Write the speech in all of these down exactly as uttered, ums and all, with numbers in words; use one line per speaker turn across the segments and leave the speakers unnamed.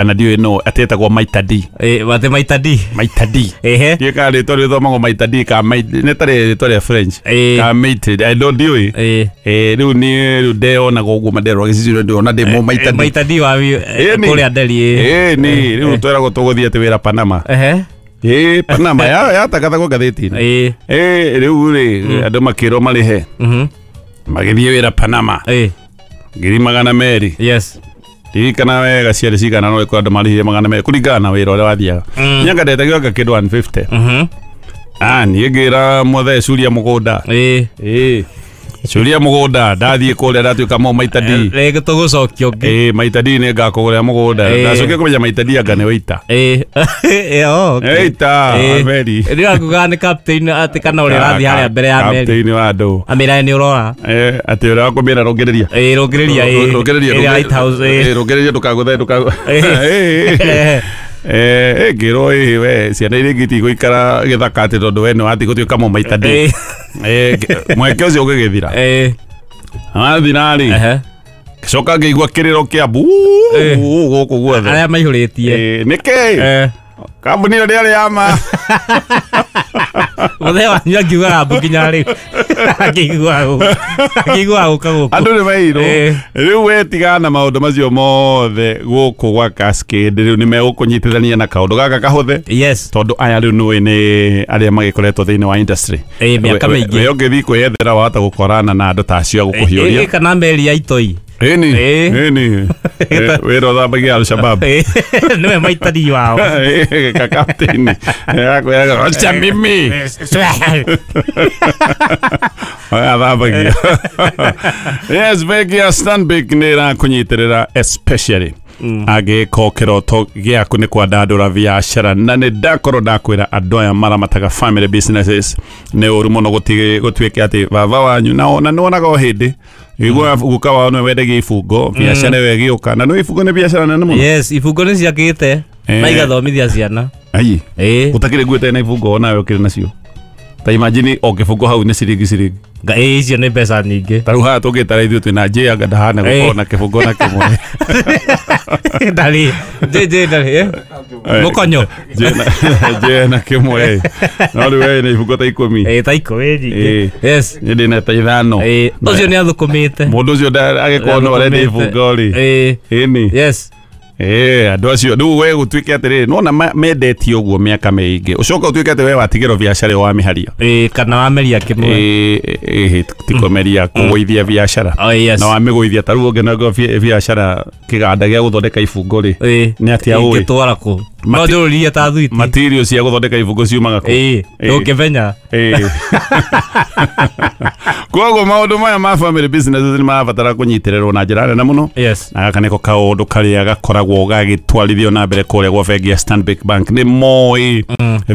Kana ndiũĩ no atĩ etagwo Maita D.
Eh, wate Maita D.
Maita D.
Ehe.
Ndiũĩ kana rĩtwa rĩthomagwo Maita D ka nĩ tarĩ rĩtwa rĩa French.
Eh.
Ka Maite, I don't ndiũĩ.
Eh.
Eh, rĩu niĩ rĩu ndeonaga ũguo maderwo gĩcicio ndĩrona ndĩ mũ Maita D.
Maita D wa
Ĩni.
kũrĩa Nderi.
Ĩni, rĩu tweragwo tũgũthiĩ atĩ wĩra Panama.
Ehe.
Ĩ, Panama ya yatangathagwo ngathĩti-inĩ.
Eh.
Ĩ, rĩu rĩ andũ makĩrwo marĩhe.
Mhm.
Magĩthiĩ wĩra Panama.
Eh.
Ngiri magana merĩ.
Yes.
Ndirikana wega ciarĩ cigana no ĩkorwo andũ marĩhire magana merĩ kũringana na wĩra ũrĩa wathiaga.
Mm.
Niĩ anga ndetagio anga kĩndũ one fifty.
Mhm.
Ah, niĩ ngĩra mũthee curia mũgũnda.
Eh.
Ĩ. Curia mũgũnda ndathiĩ kũrĩa ndatuĩka mo Maita D.
Rĩngĩ tũgũcokia ũngĩ.
Ĩ, Maita D nĩ ngakũgũrĩra mũgũnda.
Ĩ.
Ndacokire kũmenya Maita D anga nĩ waiter.
Eh. Eh, oh, okay.
Waiter,
Eh.
meri.
Rĩu akugaga nĩ captain atĩ kana ũrĩa ũrathiĩ harĩa mbere ya meri.
Captain wa andũ.
Amĩra nĩ ũrora.
Eh, atĩ ũrĩa wakũmĩra rũngĩrĩria.
Eh, rũngĩrĩria eh.
Rũngĩrĩria.
Ĩrĩa Lighthouse eh.
Rũngĩrĩria ndũkagũthe ndũkagũthe.
Eh.
Eh, eh, ngĩrwo ĩ we ciana iria ingĩ itigũikara gĩthaka atĩ tondũ we nĩ wathiĩ gũtuĩka mo Maita D.
Eh.
Eh, mweke ũcio ũgĩgĩthira.
Eh.
Wathira rĩ.
Ehe.
Ngĩcoka ngĩigua kĩrĩro kĩa mbu
Eh.
gũkũ guothe.
Arĩa maihũrĩtie.
Eh, nĩkĩ?
Eh.
Kambuni ĩyo ndĩarĩ ya ma.
Mũthee wanyu angiugaga mbu nginya rĩu. Akĩiguaga gũkũ. Akĩiguaga gũka gũkũ.
Andũ nĩ mairwo.
Eh.
Rĩu we tigana na maũndũ macio mothe gũkũ gwa Cascade rĩu nĩ megũkũnyitithania na kaũndũ gaka kahũthe.
Yes.
Tondũ aya rĩu nĩũĩ nĩ arĩa magĩkoretwo thĩinĩ wa industry.
Eh, mĩaka
We- we-
mĩingĩ.
We ũngĩthiĩ kwĩyethera wahota gũkorana na andũ ta acio a gũkũhiũria.
Eh, kana meri ya itoi.
Ĩni.
Eh.
Ĩni. Eh, wĩra ũthambagia Al-Shabaab.
Eh, nĩwe Maita D wao.
Eh, ka captain. Eh, akwĩraga, "Wacha mimi." Athambagia. Yes, bengi ya Stanbic nĩ ĩrakũnyitĩrĩra especially angĩkorwo kĩroto gĩaku nĩ kwandandũra biacara na nĩ ndakorwo ndakwĩra andũ aya maramataga family businesses nĩ ũru mũno gũti- gũtuĩke atĩ baba wanyu na na nĩwonaga o hĩndĩ igua guka wao nĩwe wendagia ibungo biacara ĩyo ĩgĩũka na nĩ ibungo nĩ biacara nene mũno.
Yes, ibungo nĩ ciakĩte
Eh.
na igathomithia ciana.
Ai.
Eh.
Ũtakĩrĩ nguo ĩtarĩ na ibungo onawe ũkĩrĩ nacio. Ta imagine o kĩbungo hau nĩ ciringi ciringi.
Nga eh icio nĩ mbeca nyingĩ.
Ta rĩu haha tũngĩtara ithuĩ twĩna J anga ndahana gũkorwo
Eh.
na kĩbungo na kĩmwe.
Ndarĩ. J J ndarĩ. eh? Mũkonyo.
J na J na kĩmwe. No rĩu we na ibungo ta ikũmi.
Eh, ta ikũmi nyingĩ.
Eh.
Yes.
Niĩ ndĩna ta ithano.
Eh, ũcio nĩ athũkũmĩte.
Mũndũ ũcio nda- agĩkorwo no arenda ibungo rĩ.
Eh.
Ĩni.
Yes.
Eh, andũ acio rĩu we gũtuĩke atĩrĩrĩ nĩwona ma- mendetie ũguo mĩaka mĩingĩ ũcoka ũtuĩke atĩ we watigĩrwo biacara ĩyo wamĩharia.
Eh, kana wameria kĩmwe.
Ĩ, ĩ, ti kũmeria kũgũithia biacara.
Oh, yes.
Na wamĩgũithia ta rĩu ũngĩnengwo biacara kĩganda gĩa gũthondeka ibungo rĩ.
Eh.
Nĩ atĩa ũĩ?
Ingĩtwara kũ? No
Mati-
njũrũrie ta thwiti.
Material cia gũthondeka ibungo ciumaga kũ?
Eh,
Eh.
ndũngĩmenya.
Ĩ. Koguo maũndũ maya ma family businesses nĩ marabatara kũnyitĩrĩrwo na njĩra nene mũno.
Yes.
Na gaka nĩko kaũndũ karĩa gakoragwo gagĩtwarithio na mbere kũrĩa gwa bengi ya Stanbic Bank. Nĩ moĩ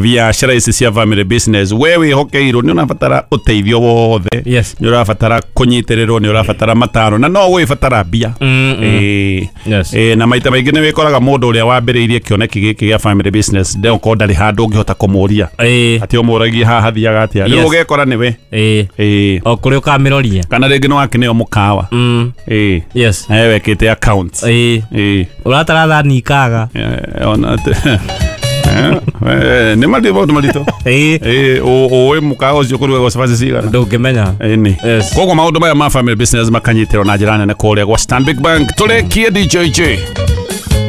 biacara ici cia family business we wĩhokeirwo nĩ ũrabatara ũteithio wothe.
Yes.
Nĩ ũrabatara kũnyitĩrĩrwo, nĩ ũrabatara mataro na no ũgũgĩbatara mbia.
Mm, mm.
Ĩ.
Yes.
Ĩ, na maita maingĩ nĩ wĩkoraga mũndũ ũrĩa wambĩrĩirie kĩoneki gĩkĩ gĩa family business ndeũkorwo ndarĩ handũ ũngĩhota kũmũria
Eh.
atĩ ũmũragie haha hathiaga atĩa. Rĩu
Yes.
ũgekora nĩwe.
Eh.
Ĩ.
O kũrĩa ũkamĩroria.
Kana rĩngĩ nĩ wakĩneo mũkawa.
Mm.
Ĩ.
Yes.
Nawe wekĩte accounts.
Eh.
Ĩ.
Ũratara thani ikaga.
Eh, ona atĩ Eh, nĩ maritũ maũndũ maritũ.
Eh.
Ĩ, ũĩ mũkawa ũcio kũrugagwo cabaci cigana?
Ndũngĩmenya.
Ĩni.
Yes.
Koguo maũndũ maya ma family business makanyitĩrwo na njĩra nene kũrĩa gwa Stanbic Bank. Tũrĩkie D J J.